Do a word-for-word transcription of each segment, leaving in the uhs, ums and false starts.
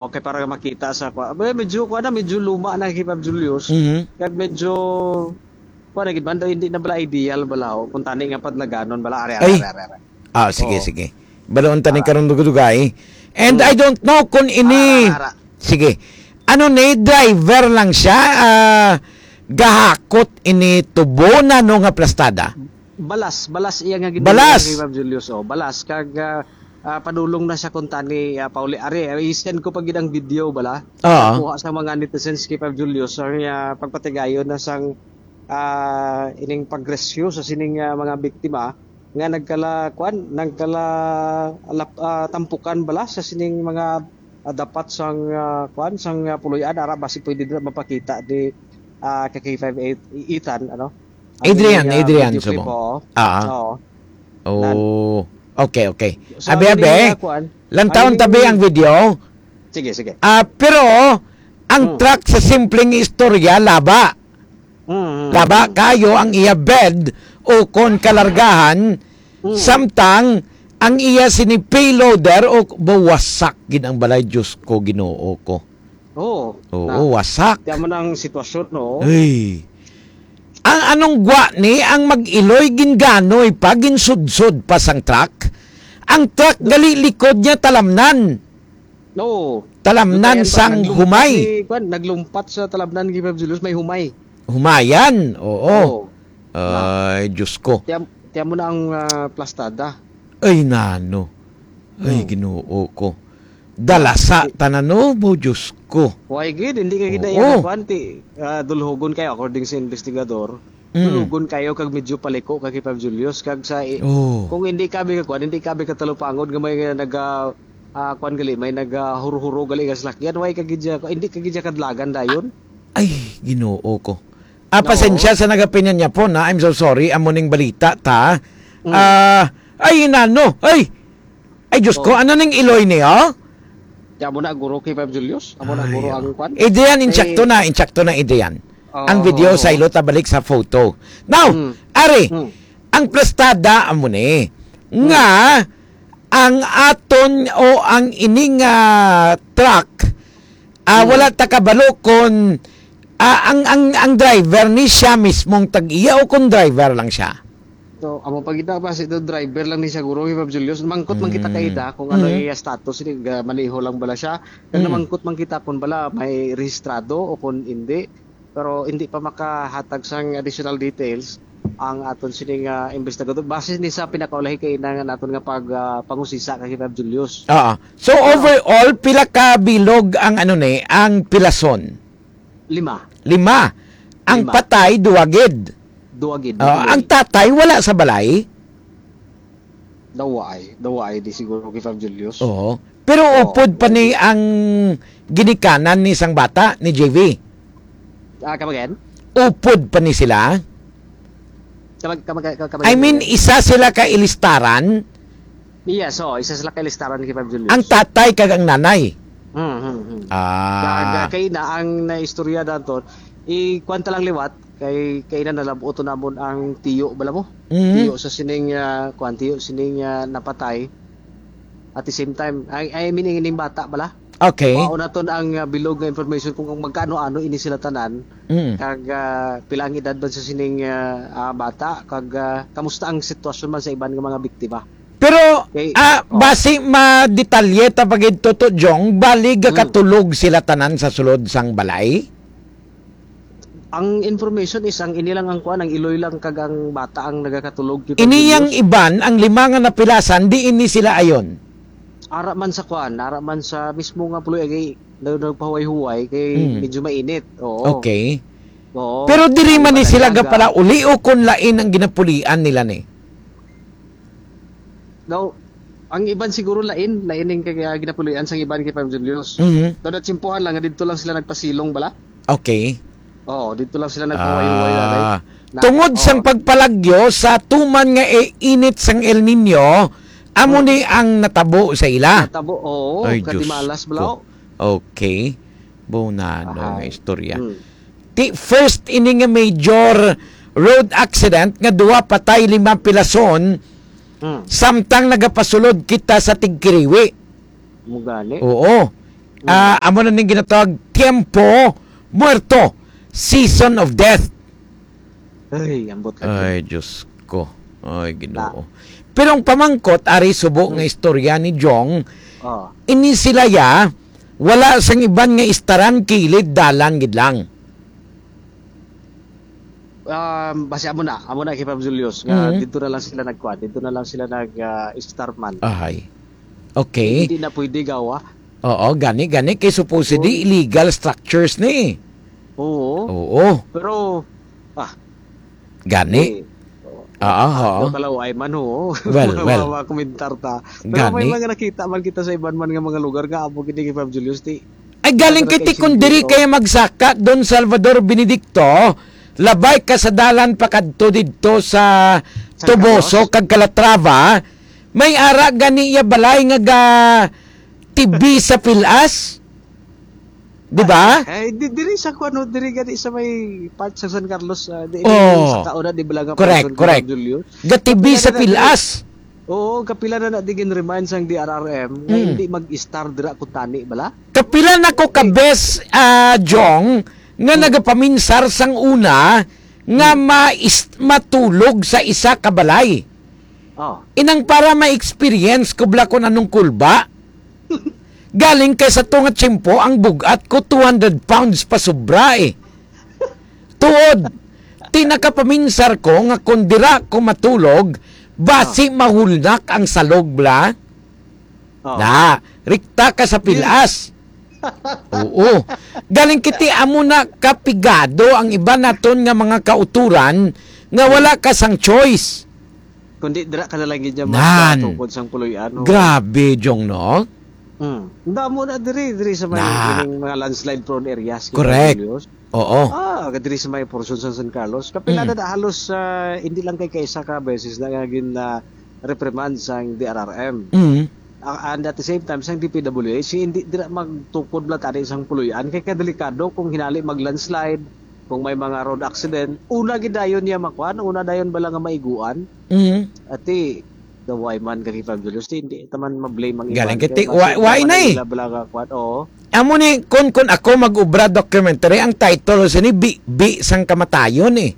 Okay, para makita sa kwa-, ba, medyo, kwa na, medyo luma na, K five Julius. Mhm. Kag medyo, kwa na gid man daw, hindi na bala ideal bala, oh, kung tani nga padlaganon bala, are, are, Ay. are, are, are. Ah, sige, Oo. sige. Baloon tani Ah. karon dugay-dugay. And Hmm. I don't know kung ini, Ara, ara. sige. Ano ni, driver lang siya, ah, gahakot ini tubo na, no, nga plastada? Balas, balas iya nga gidala Balas? kay Ma'am Julius, oh, balas. Kag, ah, ah, padulong na siya kung tani, ah, pauli. Ari, ah, i-send ko pa gid ang video bala. Oo. Nakuha sa mga netizens kay Ma'am Julius, ang, ah, pagpatigayon na sang, ah, ining pagrescue sa sining, ah, mga biktima nga nagkala, kwan, nagkala lap-, ah, tampukan bala sa sining mga, ah, dapat sang, ah, kwan, sang, ah, puloy-an, ara, basi pwede na mapakita di, ah, ka K five eight, i-, Ethan, ano? Ang Adrian, ining, ah, Adrian, video clip, sumo. Oo. Ah. Oo. Nan- Oh. Okay, okay. So, Abi, ang abi. ining, ah, kuan, Lantawon ang tabi ining ang video. Sige, sige. Ah, pero ang Hmm. truck sa simpleng istorya, laba. Mm, mm, Laba mm. kayo ang iya bed o kon kalargahan, Mm. samtang ang iya sini payloader o bawasak gid ang balay, Diyos ko, Ginoo ko. Oo. Oo, Na, wasak. Kaya man ang sitwasyon, no? Ay. Ang anong gwa ni ang mag-iloy ginganoy pa, ginsudsod pa sang truck? Ang truck gali likod niya talamnan. Oo. Talamnan Dutayan pa, sang naglumpat humay. Si, kwan, naglumpat sa talamnan, Gibab Julius, may humay. Humayan, oo. Oo. Ay, Diyos ko. Tiyan, tiyan mo na ang, ah, plastada. Ay, nano. Ay, Hmm. Ginoo ko. Dalasa Ti- tanan, no, mo, Diyos ko. Why gid? Hindi ka gid Oo. na kwan, ti, ah, dulhogon kayo according sa investigador. Mm. Dulhogon kayo kag medyo paliko ka kay Pab Julius. Kag sa i-, Oo. kung hindi kami ka kwan, hindi kami katalupangon nga may, ah, nag, ah, ah, kwan gali, may nag, ah, huro-huro gali nga salakyan. Why ka gid siya, hindi ka gid siya kadlagan dayon? Ay, Ginoo ko. Ah, Oo. pasensya sa nagapinyan niya po na. I'm so sorry. Amo ning balita ta. Mm. Ah, ay, nano. Ay, Ay, Diyos ko, Oh. ano ning iloy niyo? Di amo na guro kay Pab Julius? Amo na Ay, guro oh. ang kwan? Adrian, Ay. insakto na, insakto na, Adrian. Oh, Ang video oh, sa oh. ilo ta balik sa photo. Now, Mm. ari, Mm. ang plastada amo ni Mm. nga ang aton o ang ining, ah, truck, ah, Mm. wala ta kabalo kon, ah, ang, ang, ang driver ni siya mismong tag-iya o kon driver lang siya. So, amo pa kita ba, si do driver lang ni siya, guro, Ma'am Julius. Mangkot man kita Mm. kay ida kung ano Mm. iya status, ni, ga-, maneho lang bala siya. Kag Mm. namangkot man kita kung bala may rehistrado o kung hindi. Pero hindi pa makahatag sang additional details ang aton sining, ah, investigador. Base ni sa pinakaulahi kay ina nga naton nga pag, ah, pangusisa kay Ma'am Julius. Oo. So, Ah. overall, pila ka bilog ang, ano ni, ang pilason? Lima. Lima. Ang Lima. patay, duwa gid. Duwa gid, Ah, duwa ang gid. tatay wala sa balay? Dawaay. Dawaay di siguro kay Fab Julius. Oo. Pero Oo, upod pa duwa ni gid. ang ginikanan ni sang bata, ni J V? Ah, come again? Upod pa ni sila? Kamag-, kamag-, kamag-, I mean, isa sila ka ilistaran? Yes, oo, isa sila ka ilistaran kay Fab Julius. Ang tatay kag ang nanay? Hmm, hmm, hmm. Ah. Kag, ah, kay na ang naistorya daton, i-, kwan ta lang liwat, kay, kay na nalab-ot namon ang tiyo, bala mo? Mhm. Tiyo sa sining, ah, kwan, tiyo sining, ah, napatay. At the same time, I, I mean, ining bata, bala? Okay. Mao naton ang, ah, bilog nga information kung, kung magkaano-ano ini sila tanan, Mm. kag, ah, pila ang edad man sa sining, ah, ah, bata, kag, ah, kamusta ang sitwasyon man sa iban nga mga biktima. Pero, Okay. ah, Oh. basi madetalye ta pa gid, Toto Jong, bali Mm. gakatulog sila tanan sa sulod sang balay? Ang information is ang ini lang ang kuan, ang iloy lang kag ang bata ang nagakatulog kay Ini yang Pablo. iban, ang lima nga napilasan, di ini sila ayon? Ara man sa kuan, ara man sa mismo nga puloy, agi, nag-, nagpahuway-huway kay Hmm. medyo mainit. Oo. Okay. Oo. Pero diri Ang man ni iban sila talaga. gapalauli o kon lain ang ginapulian nila ni? Daw, ang iban siguro lain, lain ning kay, ah, ginapulian sang iban kay Pam Julius. Mhm. Daw natsimpuhan lang nga didto lang sila nagpasilong bala. Okay. Oo, didto lang sila nagpahuway-huway, Ah, nanay. Na, tungod sang oo. pagpalagyo sa tuman nga i-, init sang El Niño, amo Hmm. ni ang natabo sa ila. Natabo, oo, Ay, Diyos katimalas bala, ko. oh. Okay. Bunano nga Ahay. istorya. Hmm. Ti, first ini nga major road accident nga duha patay, lima pilason, Hmm. samtang nagapasulod kita sa Tigkiriwi. Mo gani. Oo. Mm. Ah, amo na ning ginatawag tiempo muerto, season of death. Ay, ambot lagi. Ay, Diyos ko. Ay, Ginoo. Pero ang pamangkot, ari subo nga istorya ni Jong, Oh. ini sila ya, wala sang iban nga istaran, kilid, dalan gid lang. Um, basi amo na, amo na kay Pab Julius, nga Mhm. dito na lang sila nagkuha, dito na lang sila nag, ah, istar man. Ahay. Okay. Hindi na pwede gawa. Oo, gani, gani, kay supposedly Oo. illegal structures ni. Oo. Oo. Pero, ah, Gani. eh, Ah, ah, oo. ano, kalaway man, oo. Well, Mga well. makomentar ta. Pero may Gani. mga nakita man kita sa iban man nga mga lugar nga amo gid ni Pab Julius, ti. Ay, galing Ano na kiti kay kung diri Singkuro? kaya magsaka, Don Salvador Benedicto, labay ka sa dalan pakadto didto sa San Toboso Carlos? kag Calatrava, may ara gani iya balay nga ga T V sa pilas. Di ba? Eh, di, diri sa kuno, diri gani sa may part sa San Carlos, ah, di, Oh. sa kauna, di ba lang ang Correct, portion, correct. Julio? Ga T V Kapila sa na diri. pilas. Oo, kapila na na di gin-remind sang D R R M nga Mm. hindi mag-istar dira kung tani bala. Kapila na ko ka Eh. bes, ah, Jong, nga Mm. nagapaminsar sang una nga Mm. mais-, matulog sa isa ka balay. Oh. Inang para ma-experience ko bala kung anong kulba. Galing kay sa tunga tiyempo, ang bugat ko two hundred pounds pa sobra eh. Tuod, ti nakapaminsar ko nga kung dira ko matulog, basi Oh. mahulnak ang salog bala. Oh. Na, rikta ka sa pilas. Oo. Galing kiti amo na kapigado ang iban naton nga mga kauturan nga wala ka sang choice. Kundi dira ka na lang gid niya Nan. magtukod sang puloy-an, no? Grabe, Jong, no? Mm. Ang damo na diri, diri sa may Na. ining mga landslide prone areas, Correct. Julius. Oo. Ah, diri sa may portion sa San Carlos. Kapila Mm. na, na halos, ah, hindi lang kay kaisa ka beses na nga gin, ah, reprimand sang D R R M. Mm. Ah, and at the same time, sang D P W H, hindi dira magtukod lang tani sang puloy-an. Kay kadelikado kung hinali mag-landslide, kung may mga road accident, una gid dayon niya makuan, una dayon bala nga maiguan. Mhm. Ati, the why man kay Fab Julius, di, hindi ta man ma-blame ang Galing iban. kay Kay ti-, basi why, why naman na eh? nila bala nga kuan, oo. Amo ni, kun, kun ako mag-ubra documentary, ang title sini, Bi, Bi sang Kamatayon eh.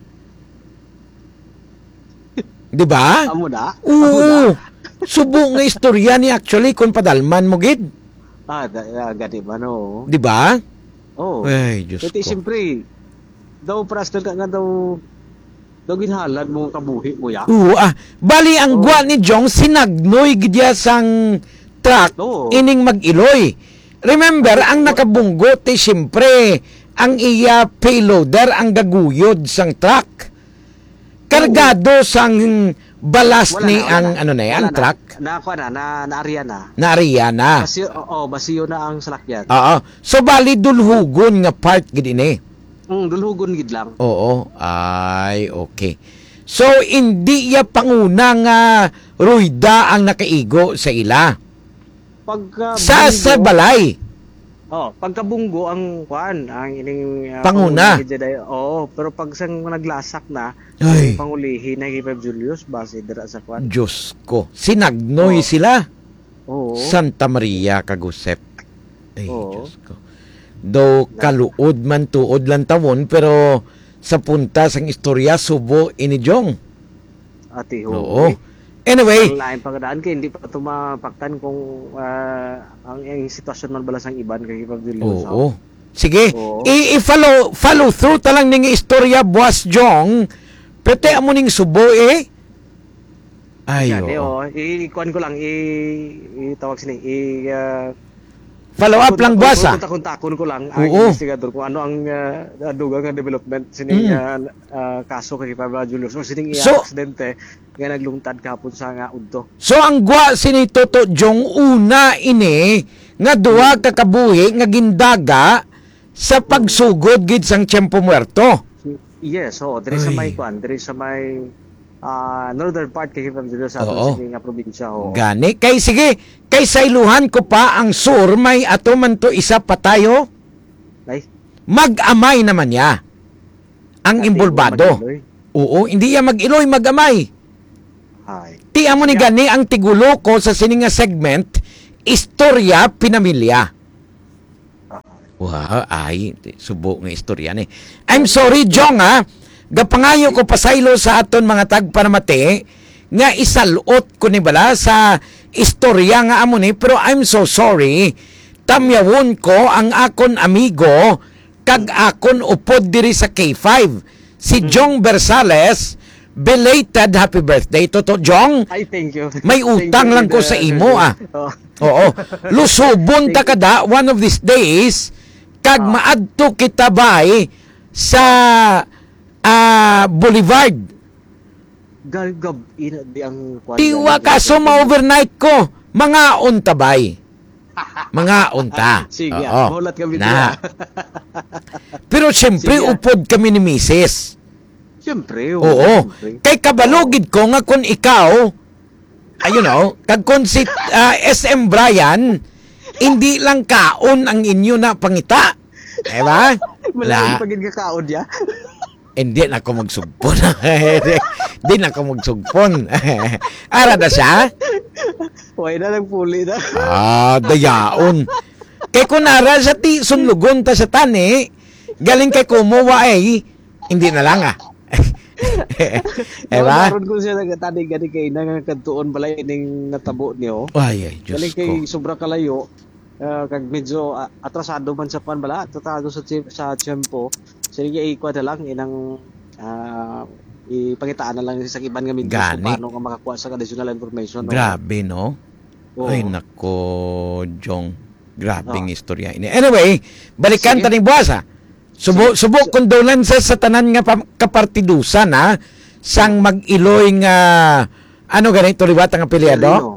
Di ba? Amo na? Oo. Amo na? Subo nga istorya ni actually, kun padalman mo gid. Ah, da, ah, gani ba, no? Di ba? Oo. Ay, Diyos Kaya ko. siyempre, daw prastal ka nga daw, daw ginhalad mo ang kabuhi mo, ya? Oo, ah. Bali, ang Oo. gwa ni Jong, sinagnoy gid ya sang truck, Oo. ining mag-iloy. Remember, Ano, ang wa- nakabunggo, ti, siyempre, ang iya payloader, ang gaguyod sang truck. Kargado Oo. sang balas Wala ni na, wala ang, na. ano na, Wala ang na. truck? Nakuha na, na, naariya na. Naariya na. Basiyo, oo, basiyo na ang salakyan. Oo. So, bali, dulhugon nga part gid ini. Mm, dulhugon gid lang. Oo. Ay, okay. So, hindi ya panguna nga ruyda ang nakaigo sa ila? Pagka Sa, sa bunggo, balay? Oh, pagkabunggo ang kuan, ang ining, ah, Panguna. panguna gid siya, oo, pero pag sang naglasak na, Ay. pangulihi na kay Fab Julius, base dira sa kuan. Diyos ko, sinagnoy Oo. sila. Oo. Santa Maria kag Josep. Ay, Oo. Diyos ko. Daw Na- kaluod man tuod lang tawon, pero sa punta sang istorya, subo ini, Jong. Ati, Oo. oo. Anyway. Ang lain pa nga daan kay hindi pa ito mapaktan kung, ah, ang, ang sitwasyon man bala sang iban kay Fab Julius, Oo. ha? Sige, Oo. i-, i-follow, follow through ta lang ning istorya, Boss Jong. Pwede amo ning subo, eh. Ay, Gani, oo. oh. I-, i-kuan ko lang, i-, itawag sini, i-, ah, Follow up lang, boss, ah. Kontak-kontakon ko lang ang Oo. investigador kung ano ang, ah, dugang nga development sini Mm. nga, ah, kaso kay Pablo Julius o sining iya So, aksidente nga naglungtad kahapon sa nga udto. So, ang gwa sini Toto Jong, una ini nga duha Mm. ka kabuhi nga gindaga sa Mm. pagsugod gid sang Tiempo Muerto. Yes, oo. Diri sa Ay. may kuan, diri sa may, ah, northern part kay Pablo Julius sa aton Oo. sini nga probinsya, oo. Gani. Kay sige, kay sa iluhan ko pa ang sur, may ato man to isa pa tayo. Ay. Mag-amay naman niya ang Ate, imbulbado. Mag-iloy. Oo, hindi iya mag-iloy, mag-amay. Ay. Ti amo ni Ya. gani ang tigulo ko sa sini nga segment, Istorya Pinamilya. Wow, ay, subo nga istorya ni. I'm sorry, Jong, ha? Gapangayo ko pasaylo sa aton mga tagpanamati nga isalot ko ni bala sa istorya nga amo ni, pero I'm so sorry. Tamyawon ko ang akon amigo kag akon upod diri sa K five, si Mm. Jong Bersales. Belated happy birthday, Toto Jong. Ay, thank you. May Thank utang you, lang ko Kuya sa imo, Sergio. ah. Oh. Oo. Lusubon ta Thank you. kada one of these days, kag Ah. maadto kita, bay, sa, ah, Boulevard. Gab-, gab-, ina, di ang kwan Tiwa nga ka, so gab-, ma-overnight ko. Mangaon ta, bay. Mangaon ta. Sige, Oo. Mahulat kami Na. diya. Pero siyempre, Sige. upod kami ni misis. Siyempre, oo, Oo. siyempre. Kay kabalo Oo. gid ko nga kung ikaw, ayun, oh, kag kung si, ah, S M Brian, hindi lang kaon ang inyo na pangita. Diba? Malain La- pa gid nga kaon niya. Hindi na ako magsugpon. Hindi na ako magsugpon. Ara na siya? Way na lang puli na. Ah, dayaon. Kay kung ara sa ti, sunlugon ta sa tani, galing kay kumuha ay, hindi na lang, ah. Diba? Naon ko siya nagatanig gani kay nangakadtuon balay ning natabo niyo. Ay, ay, Diyos Galing kay ko. sobra kalayo, ah, kag medyo, ah, atrasado man sa kwan bala, atrasado sa tsi-, sa tiyempo. Sige, ikuha na lang, inang, ah, ipangitaan na lang sa iban nga medios kung Gani. paano ka makakuha sa additional information, no? Grabe, no? Oo. Ay, nako, Jong. Grabing Oo. istorya ini. Anyway, balikan Sige. ta ning buwas, ah. Subo, Sige. subo, So condolences sa tanan nga pam-, kapartidusan, ha, sang mag-iloy nga, ano gani to liwat ang apelyido? Verino.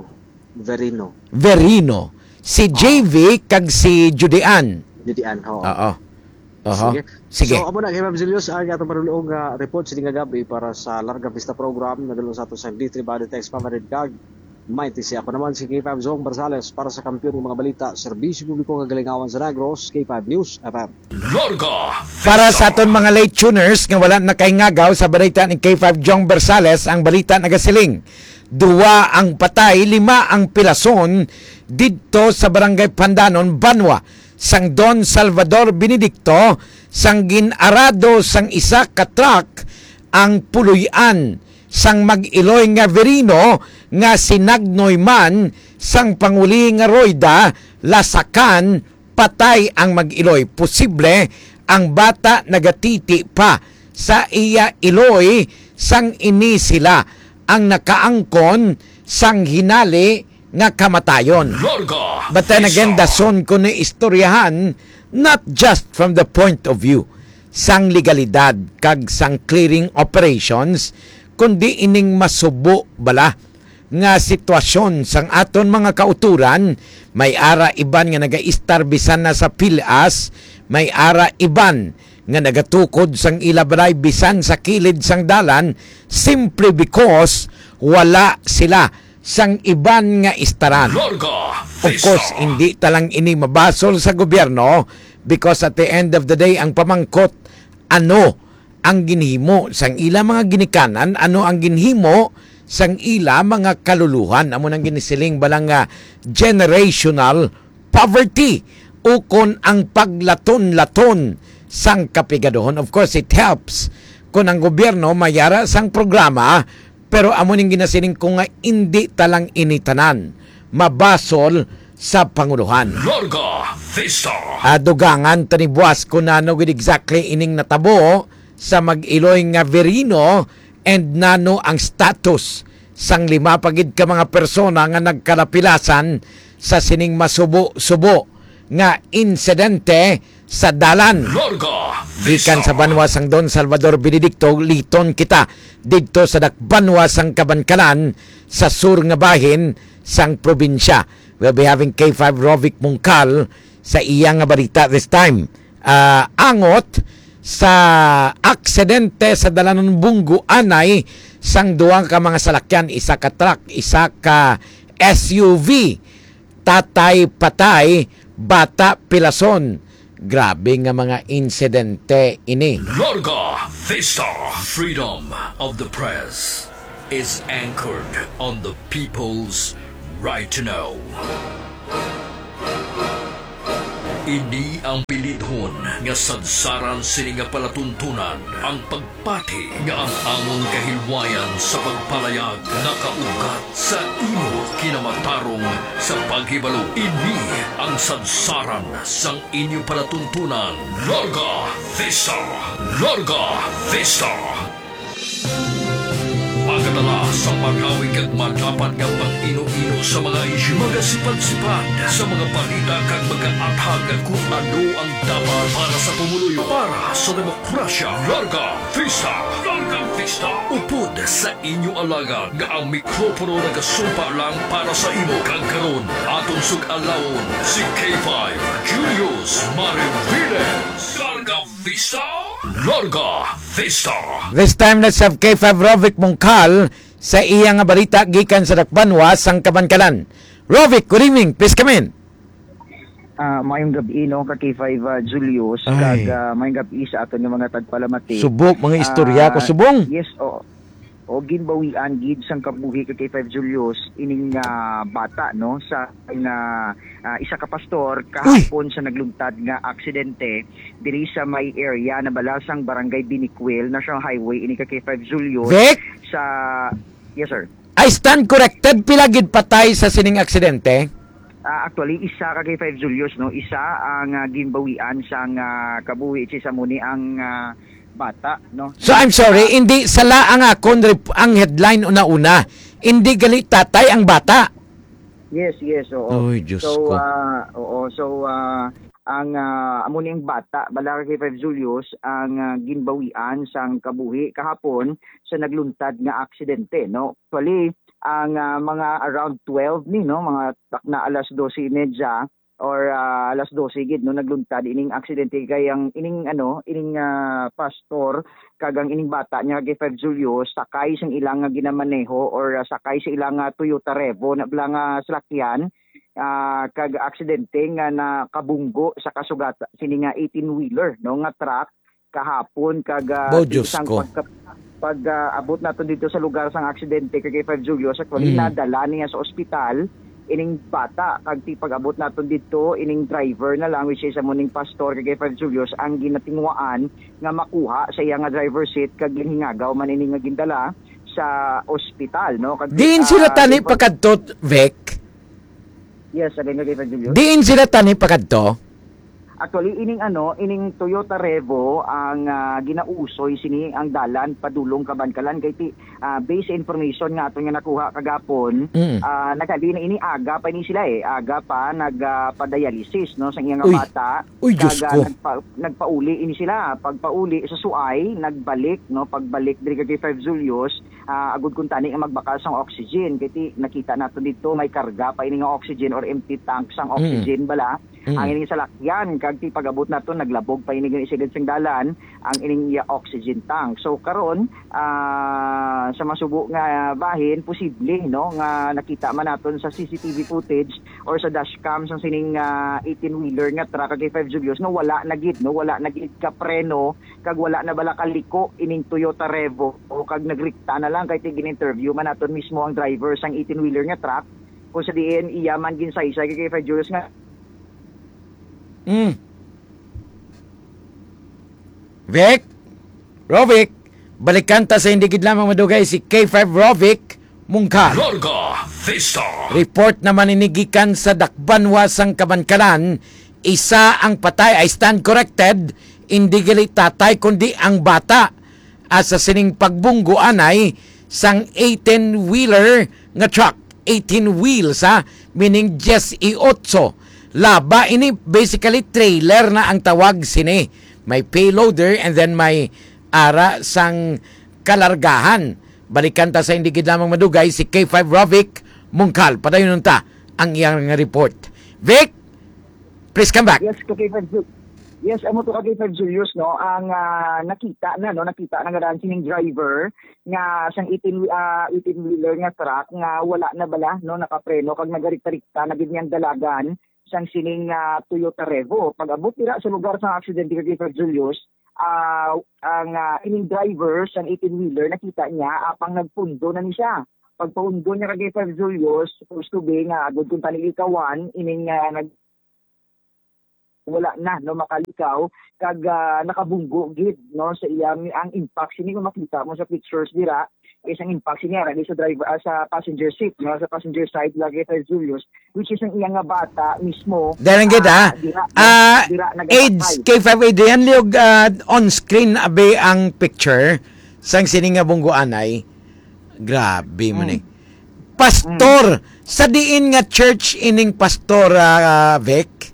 Verino. Verino. Si Oo. J V kag si Judean. Judean, oo. Oo. Oho. Sige. Sige. So, amo na, kay Ma'am Julius, ang atong panulong nga report sini nga gabi para sa Larga Vista Program. Nadulong sa ato sa D three Body Text Pamarid kag Mighty C. Ako naman si K five Zong Barzales para sa Kampiyon ng mga Balita, Serbisyo Publiko kag Kalingawan sa Negros, K five News F M. Larga Para sa Vista. aton mga late tuners nga wala nakaingagaw sa balita ni K five Jong Bersales, ang balita nagasiling, duwa ang patay, lima ang pilason didto sa Barangay Pandanon, Banwa sang Don Salvador Benedicto, sang gin-arado sang isa ka truck ang puloy-an sang mag-iloy nga Verino nga sinagnoy man sang panguli nga royda, lasakan, patay ang mag-iloy. Posible ang bata nagatiti pa sa iya iloy sang ini sila ang nakaangkon sang hinali nga kamatayon. Larga But then again, Vista. dason ko ni istoryahan, not just from the point of view sang legalidad kag sang clearing operations, kundi ining masubo bala nga sitwasyon sang aton mga kauturan, may ara iban nga nagaistar bisan na sa pilas, may ara iban nga nagatukod sang ila balay bisan sa kilid sang dalan, simply because wala sila sang iban nga istaran. Larga Of course, Vista. hindi ta lang ini mabasol sa gobyerno because at the end of the day, ang pamangkot, ano ang ginhimo sang ila mga ginikanan, ano ang ginhimo sang ila mga kaluluhan. Amo nang ginisiling bala nga generational poverty ukon ang paglaton-laton sang kapigaduhon. Of course, it helps kung ang gobyerno may ara sang programa, pero amo ning ginasiling ko nga indi ta lang ini tanan mabasol sa pangulohan. Larga Vista. Ah, dugangan ta ni buwas kung nano gid exactly ining natabo sa mag-iloy nga Verino and nano ang status sang lima pa gid ka mga persona nga nagkalapilasan sa sining masubo-subo nga insidente sa dalan. Larga Gikan sa Vista. banwa sang Don Salvador Benedicto, liton kita didto sa dakbanwa sang Kabankalan sa sur nga bahin sang probinsya. We'll be having K five Rovic Mungkal sa iya nga balita this time. Ah, angot sa aksidente sa dalanon bunggo anay sang duha ka mga salakyan, isa ka truck, isa ka S U V. Tatay patay, bata pilason. Grabe nga mga insidente ini. Larga Vista. Freedom of the press is anchored on the people's right to know. Ini ang pilidhon nga sadsaran sini nga palatuntunan, ang pagpati nga ang amon kahilwayan sa pagpalayag nakaugat sa imo kinamatarong sa paghibalo. Ini ang sadsaran sang inyo palatuntunan. Larga Vista! Larga Vista! Magadala sa marawi kag madapat nga pag-ino-ino sa mga isyu, magasipad-sipad sa mga balita kag magaathag kung ano ang dapat para sa pumuluyo, para sa demokrasya. Larga Vista! Larga Vista! Upod sa inyo alagad nga ang mikropono nagasumpa lang para sa imo, kag karon aton sug-alawon si K five Julius Mariviles. Larga Vista! Larga Vista! This time, let's have K five Rovic Mungkal sa iya nga balita gikan sa Dakbanwa sang Kabankalan. Rovic, good evening. Please come in. Ah, maayong gab-i, no, ka K five, ah, Julius, Ay. kag, ah, maayong gab-i sa aton nga mga tagpalamati. Subok, mga istorya ko, Ah, subong. Yes, oo. O, ginbawian gid sang kabuhi ka K five Julius ining, ah, bata, no, sa nga, ah, isa ka pastor Uy! kahapon sa nagluntad nga aksidente diri sa may area na bala sang Barangay Binicuil, National Highway, ini ka K five Julius. Vic? Sa, yes, sir. I stand corrected, pila gid patay sa sining aksidente? Ah, actually, isa ka K five Julius, no? Isa ang, ah, ginbawian sang, ah, kabuhi, which is amo ni ang, ah, bata, no? So, I'm sorry, Ah, hindi sala ang akon rep-, ang headline una-una. Hindi gali tatay ang bata. Yes, yes, oo. Oy, Diyos So, ko. ah, oo, so, ah, ang, ah, amo ni ang bata, bala ka K five Julius, ang, ah, ginbawian sang kabuhi kahapon sa nagluntad nga aksidente, no? Actually, ang, ah, mga around twelve ni, no, mga takna alas dose y media or, ah, alas dose gid, no, nagluntad ining aksidente, kay ang ining, ano, ining, ah, pastor kag ang ining bata niya, K five Julius, sakay sang ilang nga ginamaneho or, ah, sakay sa ilang nga Toyota Revo na bala nga salakyan, ah, kag aksidente nga nakabunggo sa kasugat sini nga eighteen-wheeler, no, nga truck kahapon, kag, ah, Bo, ti Diyos sang ko. pagka-, pag, ah, abot naton dito sa lugar sang aksidente kay, kay Five Julius, actually, Mm. nadala niya sa ospital ining bata, kag ti pag-abot naton dito, ining driver na lang, which is amo ning pastor kay, kay Five Julius, ang ginatinguhaan nga makuha sa iya nga driver seat, kag ginhingagaw man ini nga gindala sa ospital, no? Kag, Diin sila ah, tani infor- pakadto, Vic? Yes, sabi nga, David Julius. Diin sila tani pakadto? Actually, ining ano, ining Toyota Revo ang, ah, ginausoy sini ang dalan padulong Kabankalan kay ti, ah, based sa information nga aton nga nakuha kagapon, Mm. ah, nagali na ini, aga pa ini sila, eh. Aga pa nag, ah, pa-dialysis, no, sa iyang Uy. bata. Uy, Diyos Kag, ah, ko. nagpa-, nagpauli ini sila. Pagpauli sa Suay, nagbalik, no, pagbalik diri kay Five Julius, ah, agud kuntani nga magbakal sang oxygen. Kay ti, nakita nato dito, may karga pa ini nga oxygen or empty tank sang Mm. oxygen bala. Mm. Ang ining salakyan, kag ti pag-abot nato, naglabog pa ini gani sa gid sang dalan, ang ining iya oxygen tank. So, karon, ah, sa masubo nga bahin, posible, no, nga nakita man naton sa C C T V footage or sa dashcam sang sining, ah, eighteen-wheeler nga truck kag Five Julius nga wala na gid, no, wala na gid ka preno kag wala na bala kaliko ining Toyota Revo, o kag nagrikta na lang kay ti gin-interview man naton mismo ang driver sang eighteen-wheeler nga truck, kung sa diin iya man ginsaysay kay Five Julius nga Mm. Vic? Rovic, balikan ta sa hindi gid lamang madugay si K five Rovic Mungkal. Larga Vista. Report naman ini gikan sa Dakbanwa sang Kabankalan, isa ang patay, I stand corrected, hindi gali tatay kundi ang bata. Asa sining pagbunggo anay sang eighteen-wheeler nga truck, eighteen wheels, ha, meaning dieciocho. Laba ini, basically trailer na ang tawag sini. May payloader and then may ara sang kalargahan. Balikan ta sa hindi gid lamang madugay si K five Rovic Mungkal. Padayon ta ang iyang report. Vic, please come back. Yes, ka K five Ju-, yes, amo to ka K five Julius, no? Ang, ah, nakita na, no? Nakita na nga daan sining driver nga sang eighteen, ah, eighteen-wheeler nga truck nga wala na bala, no? Nakapreno kag nagarikta-rikta na gid niyang dalagan sang sining, ah, Toyota Revo. Pag-abot dira sa lugar sang aksidente ka K five Julius, ah, ang, ah, ining driver sang eighteen-wheeler, nakita niya apang nagpundo na ni siya. Pagpaundon niya kay Five Julius, supposed to be nga agud kuntani ikawan, ining, ah, nag- wala na, no, makalikaw, kag, ah, nakabunggo gid, no, sa iya. Ang impact sini kung makita mo sa pictures dira, is ang impact sini ara sa driver, ah, sa passenger seat, no, sa passenger side lagi kay Julius, which is ang iya nga bata mismo. Dahil ang gid, ah, ah, dira, ah, dira age nagapatay. K five Adrian, liog, ah, on screen abi ang picture sang sini nga bunggoanay. Grabe man, mm, eh. Pastor, mm, sa diin nga church ining pastor, ah, Vic?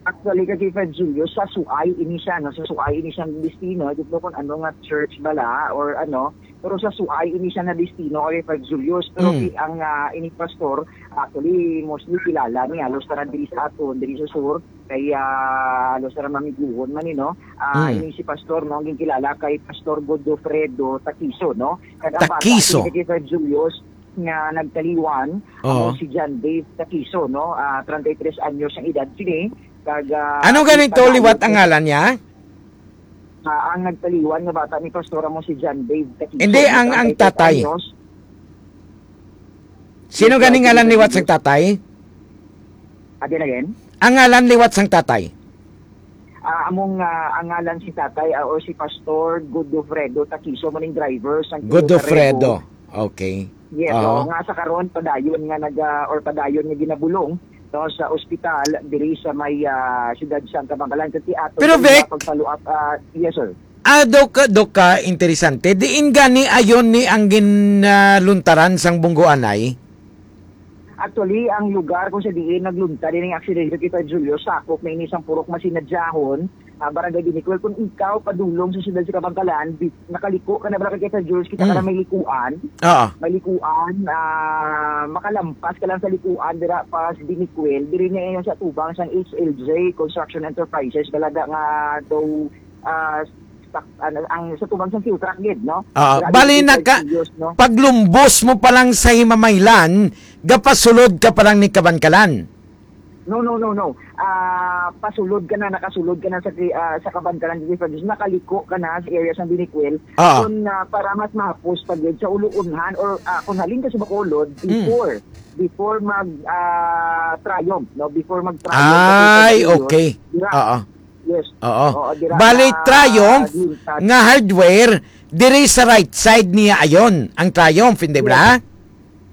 Actually, kay Fred Julius, sa Suay ini siya, no? Sa Suay ini siya ang destino. I don't know kung ano nga church bala or ano, pero sa Suay ini siya na destino kay Fred Julius. Pero, mm, si, ang, ah, ini pastor, actually, mostly kilala ni halos tanan diri sa aton, diri sa sur, kay, ah, halos tanan mamiguhon man ni, no? Ah, mm, ini si pastor, no? Ang kilala kay Pastor Godofredo Taquizo, no? Kag ang bata, Taquizo, ini kay Fred Julius, nga nagtaliwan, oo, amo si John Dave Taquizo, no? Ah, treinta y tres anyos ang edad sini. Kag, ah, ano ganing to liwat ang ngalan niya? Ah, ang nagtaliwan nga bata ni Pastor amo si John Dave Taquizo, hindi, ang, ang treinta y tres tatay anyos. Sino ganing ngalan liwat sang tatay? Again, again? Ang ngalan liwat sang tatay? Ah, among, ah, ang ngalan si tatay, ah, or si Pastor Godofredo Taquizo, mo ning driver sang Toyota Revo. Godofredo. Okay. Yes, oo, nga sa karon padayon nga naga-, or padayon nga ginabulong, no, sa ospital diri sa may, ah, siyudad sang Kabankalan. Kag ato, pero, Vic, pag-follow up, ah, yes, sir. Ah, do ka, do ka interesante. Diin gani ayon ni ang ginaluntaran sang bunggoanay? Actually, ang lugar kung sa diin naglunta din ang aksidente kita, Julio, sakop na ini sang Purok Masinadyahon, ah, Barangay Binicuel. Kung ikaw padulong sa siyudad sa Kabankalan, bi-, nakaliko ka na, Barangay kita, Jules, kita ka na may likuan. Oo. May likuan, ah, makalampas ka lang sa likuan, dira pa sa Binicuel, diri na yun sa tubang sang H L J Construction Enterprises, talaga nga daw, ah, sak-, ano, ang sa tubang sang Siltrack gid, no? Ah, bali, naka-, no? Paglumbos mo pa lang sa Himamaylan, gapasulod ka pa lang ni Kabankalan. No, no, no, no. Ah, pasulod ka na, nakasulod ka na sa, ah, sa Kabankalan, dito sa, nakaliko ka na sa area sa Binicuel. Ah. Kung, ah, para mas mahapos pa gid sa Uluunhan or, ah, kung halin ka sa Bacolod, mm, before, before mag, ah, Triumph, no? Before mag Triumph. Ay, okay. Dira. Oo. Yes. Oo. Oo, dira. Bali, na Triumph nga hardware, diri sa right side niya ayon ang Triumph, hindi ba?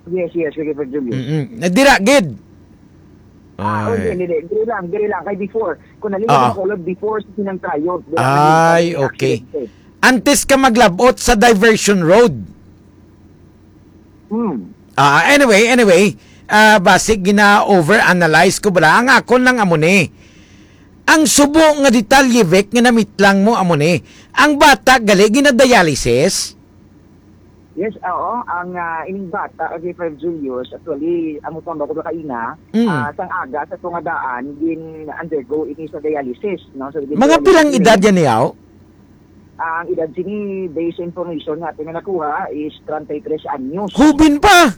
Yes, yes, sige, Sir Julius. Mm-mm. Nadira gid. Ah, oh, ay, hindi, hindi. Diri lang, diri lang. Kay before, kung nalingkod, ah, ako, Lord, before sa sinang Triumph, dira. Ay, okay. Antes ka maglabot sa diversion road. Hmm. Ah, anyway, anyway, ah, basig gina-overanalyze ko bala. Ang akon lang amo ni, ang subo nga detalye, Vic, nga namitlang mo amo ni, ang bata gali gina-dialysis? Yes, oo. Ang, ah, ining bata, okay, five Julius, actually, amo pa ba ko kaina, mm, ah, sang aga sa tunga daan, gin-undergo ini sa dialysis, no? So, mga dialysis pilang ini, edad yan niyaw? Ang edad sini, based sa information nga ato nga nakuha, is treinta y tres anyos. Hubin pa!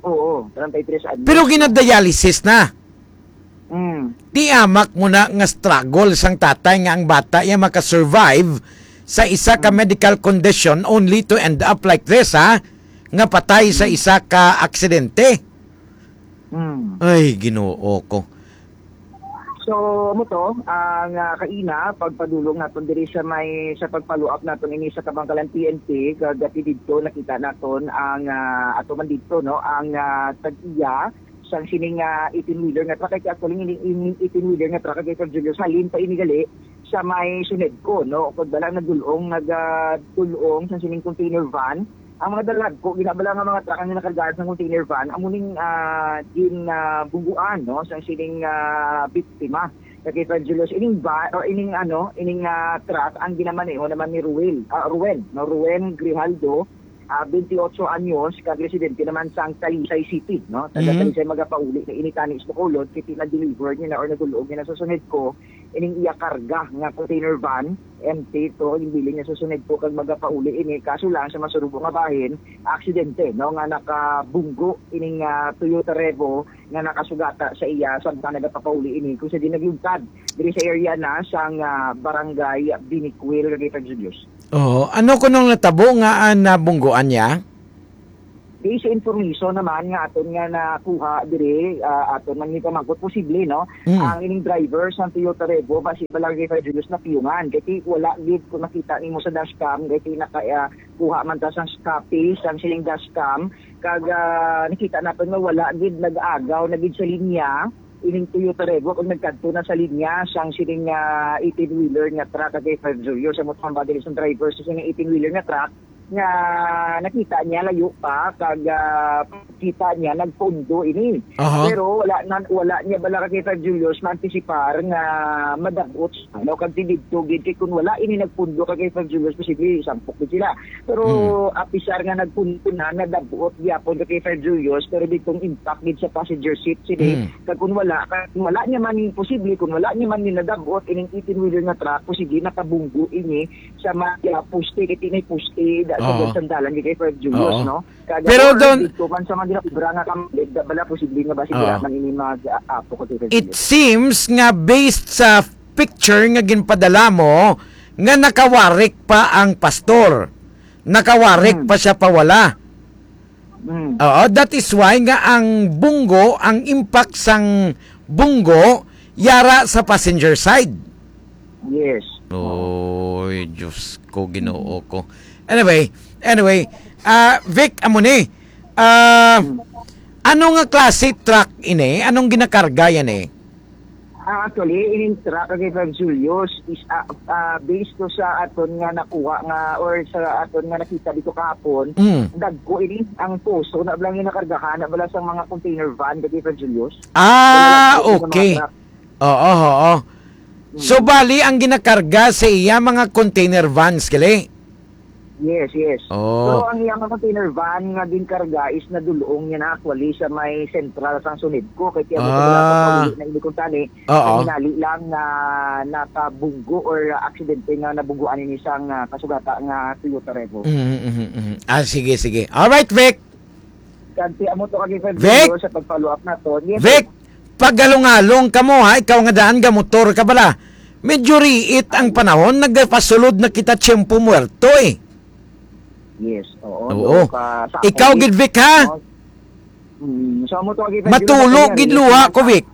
Oo, treinta y tres anyos. Pero ginadialysis na. Mm. Di amak mo na nga struggle sang tatay nga ang bata iya makasurvive sa isa ka, mm, medical condition only to end up like this, ha? Nga patay sa, mm, isa ka aksidente. Mm. Ay, Ginoo ko. So, amo to, ang, ah, kaina, pagpadulong naton diri sa may, sa pag-follow up naton ini sa Kabankalan P N P, kag dati didto nakita naton ang, ah, ato man didto, no, ang, ah, tag-iya sang sining, ah, eighteen-wheeler nga truck. Kay actually, ini, ini eighteen-wheeler nga truck, kay Julius, halin pa ini gali sa may Sunedco, no, kag bala nagdul-ong, nag, ah, dul-ong sa sining container van. Ang mga dalagko, ginabala nga mga truck ang ginakargahan sa container van, amo ning, ah, gin, ah, bungguan, no, sa sining, ah, biktima. Kay Julius, ining ba, o ining, ano, ining, ah, truck ang ginamaneho naman ni Ruel, ah, Ruen, no, Ruen Grijaldo, ah, twenty-eight anyos, kag residente naman sang Talisay City, no? Taga, mhm, Talisay, magapauli na ini tani sa Bacolod, kay na-deliver niya na or nagulog niya na sa Sunedco ining iya karga nga container van, empty to, yung bilin niya sa Sunedco kag magapauli ini. Kaso lang, sa masurubo nga bahin, aksidente, no, nga nakabunggo ining, ah, Toyota Revo nga nakasugata sa iya samtang nagapapauli ini kung sa di naglugtad diri sa area na sang, ah, Barangay Binicuil, Cagayan de Oro. Oo. Ano kunong natabo nga, ah, nabunggoan niya? Based sa information naman nga aton nga nakuha diri, ah, aton man gipamangkot, posible, no? Mm. Ang ining driver sang Toyota Revo, basi pa lang kay Fred Julius napiyungan. Kay ti-, wala gid kung nakita nimo sa dashcam, kay ti-, naka, ah, kuha man ta sang copy sang sining dashcam. Kag, ah, nakita naton nga wala gid nag-agaw na gid sa linya. Ining Toyota Revo kung nagkadto na sa linya sang sining, ah, eighteen-wheeler nga truck kay Fred Julius. Amo ang body sang driver sa sining eighteen-wheeler nga truck. Nga nakita niya layo pa, kag, ah, kita niya nagpundo ini. Aha. Pero wala na, wala niya bala, kay Julius, maantisipar nga madab-ot siya, no? Kag ti didto gid, kay kun wala ini nagpundo kay Julius, posible sampok gid sila. Pero Mm. apisar nga nagpundo na, nadab-ot gyapon kay Julius, pero ditong impact gid sa passenger seat sini. Mm. Kag kun wala, kag wala niya man, posible, kun wala niya man ni nadab-ot ining eighteen-wheeler nga truck, posible nakabunggo ini sa mga poste, kay tinay poste da sa Oo. Sandalan, di kay Fred Julius, Oo. no? Kaya Pero kung doon dito man sa mga ginakubra nga kamalig, da bala posible nga ba siguro Ah. man ini mag-apo ko kay Fred It Julius? Seems nga based sa picture nga ginpadala mo, nga nakawarik pa ang pastor. Nakawarik Hmm. pa siya pawala. Mm. Oo, that is why nga ang bunggo, ang impact sang bunggo, yara sa passenger side. Yes. Oy, Diyos ko, Ginoo ko. Anyway, anyway, ah, Vic, amo ni. Ah, Mm. ano nga klase truck ini? Anong ginakarga yan eh? Ah, actually, ining truck kay Fred Julius is, ah, ah, based to sa aton nga nakuha nga or sa aton nga nakita dito kahapon, Mm. dagko ini ang poso na lang yung nakargahan na bala sa mga container van kay Fred Julius. Ah, Wala lang po yung mga okay. Truck. Oo, oo. So, Mm. bali, ang ginakarga sa iya mga container vans, gali? Yes, yes. Oh. Pero ang iyang container van nga ginkarga is nadulong niya na actually sa may sentral sang Sunedco. Kay tiyan mo Ah. Sa na ini kung tani, Oo. Ang hinali lang na nakabunggo or aksidente nga nabungguan ini sang, ah, kasugata nga Toyota Revo. Mhm, mhm, mhm. Ah, sige, sige. All right, Vic. Kanti amo to kag Vic? Sa pag-follow up nato. Yes, Vic, sir. Paghalong-halong ka mo, ha? Ikaw nga daan ga motor ka bala. Medyo riit ang panahon, nagpasulod na kita tiyempo muerto, eh. Yes, oo. Oo. Ka, sa Ikaw gid, Vic, ha? Mm, so, amo to, Vic, Matulo gid luha ko, Vic.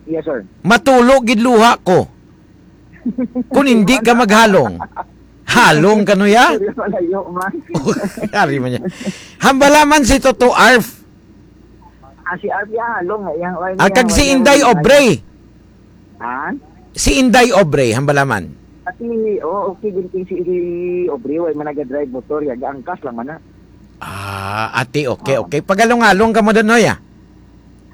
Yes, sir. Matulo gid luha ko. Kung hindi ka maghalong. Halong ka no ya? Sorry, malayo man. Ari man niya. Hambala man si Toto Arf. Ah, si Arf ya, halong nga. Yang, Ang kag si Inday Obrey. Ha? Si Inday Obrey, hambala man. Ati, oh, okay din kay si Inday Obrey, way man naga-drive motor, ya, gaangkas lang man na. Ah, ati, okay, Oo. okay. Pagalong-along ka mo doon, Noy, ah.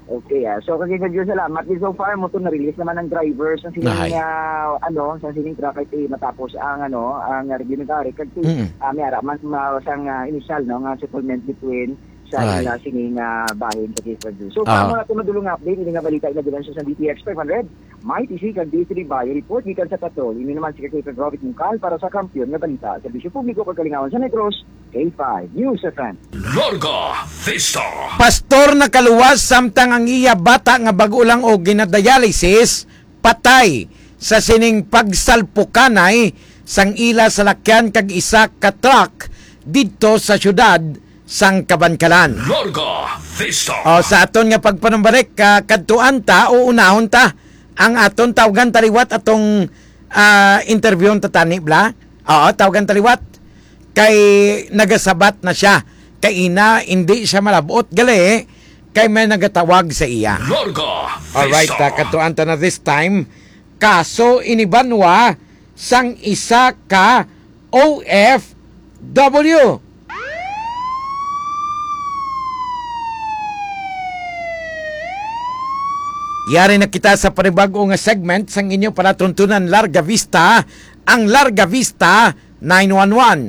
Okay, ah. So, kasi sa Diyos, salamat. Din so far, mo to na-release naman ang driver sa sining, Nahay. ah, ano, sa sining truck ay matapos ang, ano, ang review ng tari. Kasi, Mm. ah, may ara man, ma-, sang, ah, initial, no, nga settlement between sa Ay. ila sining, ah, bahin sa case review. So, Ah. para mo na ito madulong update, ini nga balita, ila bilang sa D T X five hundred, may T C kag D three Bayo Report, gikan sa Patrol. Ini naman si Kapitan Robert Mungkal para sa Kampiyon nga Balita, Serbisyo Publiko kag Kalingawan sa Negros, K five News F M. Larga Vista. Pastor nakaluwas samtang ang iya bata nga bag-o lang og ginadialysis patay sa sining pagsalpukanay sang ila salakyan kag isa ka truck didto sa siyudad sang Kabankalan. Larga Vista. O, sa aton nga pagpanumbalik, ah, kadtuan ta o unahon ta ang aton tawgan taliwat atong, ah, interviewon ta tani, bla? Oo, tawgan taliwat. Kay nagasabat na siya. Kay ina, hindi siya malabot gali, kay may nagatawag sa iya. Larga Alright, Vista. ah, kadtuan ta na this time. Kaso ini banwa sang isa ka O F W. Yari na kita sa panibag-o nga segment sang inyo palatuntunan Larga Vista, ang Larga Vista nine one one.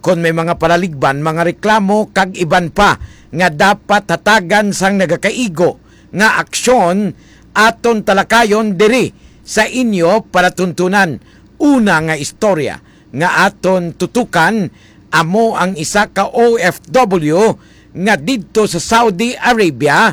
Kon may mga palaligban, mga reklamo, kag iban pa nga dapat hatagan sang nagakaigo nga aksyon, aton talakayon diri sa inyo palatuntunan. Una nga istorya nga aton tutukan amo ang isa ka O F W nga didto sa Saudi Arabia,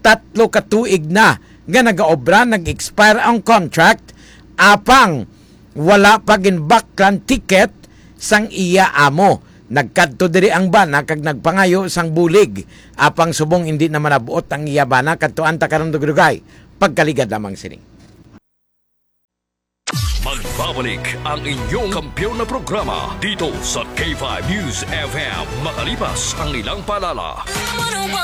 tatlo ka tuig na nga nagaobra, nag-expire ang contract, apang wala pa ginbaklan ticket sang iya amo. Nagkadto diri ang bana kag nagpangayo sang bulig, apang subong indi na manab-ot ang iya bana, kadtuan ta karon dugay-dugay. Pagkaligad lamang sini. Magbabalik ang inyong kampiyon na programa dito sa K five News F M, makalipas ang ilang paalala.